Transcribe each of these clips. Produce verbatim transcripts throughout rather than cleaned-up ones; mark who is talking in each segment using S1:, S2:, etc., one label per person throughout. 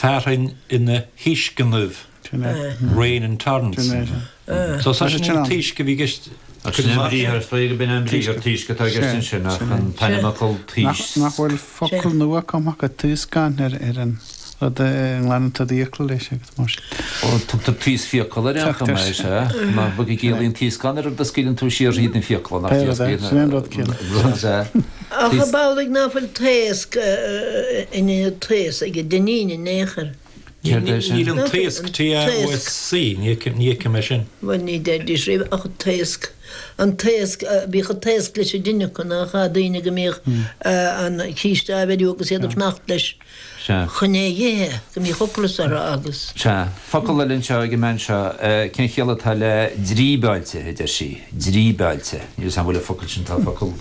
S1: Fearthainn ina thaoisceannaibh, rain in torrents. So tá sin an taoisc a bhí i gceist.
S2: Sin an briathar, is dóigh gurb in an briathar taoisc atá i gceist ansin ach an t-ainmfhocal taois.
S3: Nach bhfuil focal nua cumtha acu, taoscán, ar an rud a nglanann tú d'fhiacla leis agus mar sin.
S2: Ó, tugtar taos fiacal ar aon chuma, is ea. Mar go gciallaíonn taoscán ar rud a scaoileann tú siar thríd na fiacla, nach
S3: Pé rud é, sin é an rud céanna.
S2: Rud, is ea.
S4: Ach ab amhlaidh ná fuil taosc in ionad taos ag an Duinnín in aon chor?
S2: Céard é sin?
S1: Níl an taosc, T A O S C, ní fheicim é sin.
S4: Bhuel, ní deiridís riamh ach taosc. An taosc, bhíodh an taosc leis an dtine acu, nach ea, daoine go mbíodh an císte á bheiriú agus iad ag fanacht leis chun é a dh'ithe, go mbíodh ocras orthu agus.
S2: Sea. Focal eile anseo ag an mbean seo, cén chiall atá le dríbeáilte, a deir sí. Dríbeáilte. Níl 'fhios a'm an bhfuil an focal sin, tá focal,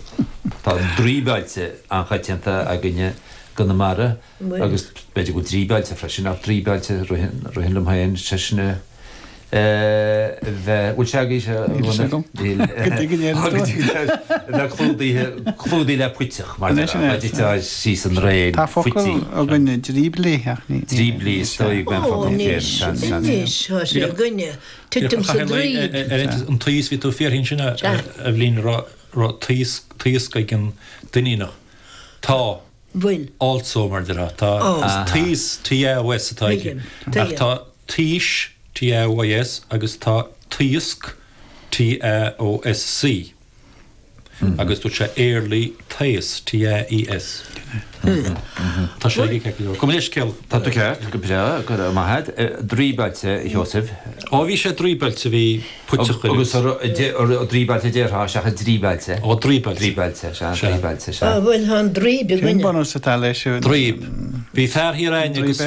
S2: tá draoibeáilte an-choitianta againne i gConamara agus b'fhéidir go bhfuil dríbeáilte freisin ach draoibeáilte ritheann liom féin, sé sin a bheith, bhfuil sé agaibh?
S3: Níl sé agam.
S2: Níl.
S3: Go dtuige an
S2: Go dtuige a bheith clúdaithe, clúdaithe le puiteach mar
S3: Anois,
S2: a dtitfeá síos an draein,
S3: Tá focal
S2: fuití.
S3: againne, dríblí, ach ní.
S2: Dríblí, is dóigh go mbeidh an
S4: Ó,
S2: focal céanna,
S4: anois,
S2: seans, seans.
S4: anois, tá sé againne. Titim sa draoib.
S1: Ar an taos, bhí tú ag fiafraí ansin a Eibhlín, raibh taos, taosc ag an Duinníneach. Tá.
S4: Bhfuil.
S1: Also mar déarfá. Tá taos, T A O S atá aici. Ach tá taois, T A O I S, agus tá taosc, T A O S C. Agus dúirt sé early taos, T A E S. Tá sé ag ceart go leor. Gabh mo leithscéal.
S2: Tá tú ceart, go breá, go raibh maith agat. Draoibeáilte, a Sheosaimh.
S1: Ó bhí sé draoibeáilte, bhí puiteach air.
S2: Agus draoibeáilte a déarfá seachas dríbeáilte.
S1: Ó draoibeáilte.
S2: Draoibeáilte, sea, draoibeáilte, sea.
S4: Bhuel, tá an draoib
S3: Cén
S4: againne.
S3: bunús atá leis?
S1: Draoib. Bhí fear thiar a'inn agus bhí